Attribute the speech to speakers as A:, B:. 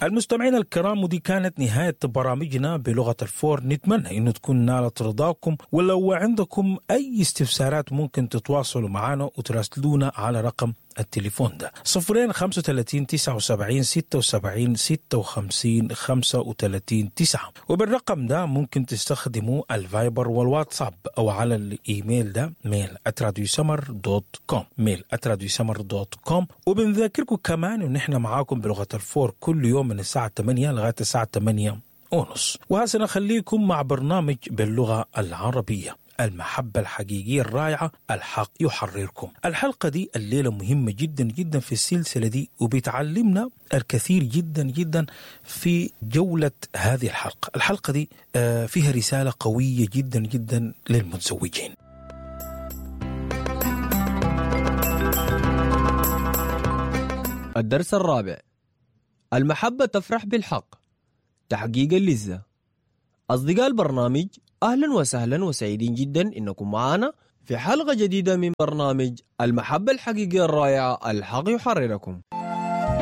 A: المستمعين الكرام، ودي كانت نهاية برامجنا بلغة الفور. نتمنى انه تكون نالت رضاكم، ولو عندكم اي استفسارات ممكن تتواصلوا معنا وتراسلونا على رقم التليفون ده 0 35 79 76 56 35 9، وبالرقم ده ممكن تستخدموا الفايبر والواتساب، او على الايميل ده mail@radiosmr.com، mail@radiosmr.com. وبنذكركم كمان ان احنا معاكم بلغة الفور كل يوم من الساعة 8 لغاية الساعة 8:30. وهسه نخليكم مع برنامج باللغة العربية، المحبة الحقيقية الرائعة، الحق يحرركم. الحلقة دي الليلة مهمة جدا جدا في السلسلة دي، وبتعلمنا الكثير جدا جدا في جولة هذه الحلقة. الحلقة دي فيها رسالة قوية جدا جدا للمتزوجين.
B: الدرس الرابع: المحبة تفرح بالحق، تحقيق اللذة. أصدقاء البرنامج، أهلا وسهلا وسعيدين جدا إنكم معنا في حلقة جديدة من برنامج المحبة الحقيقية الرائعة، الحق يحرركم.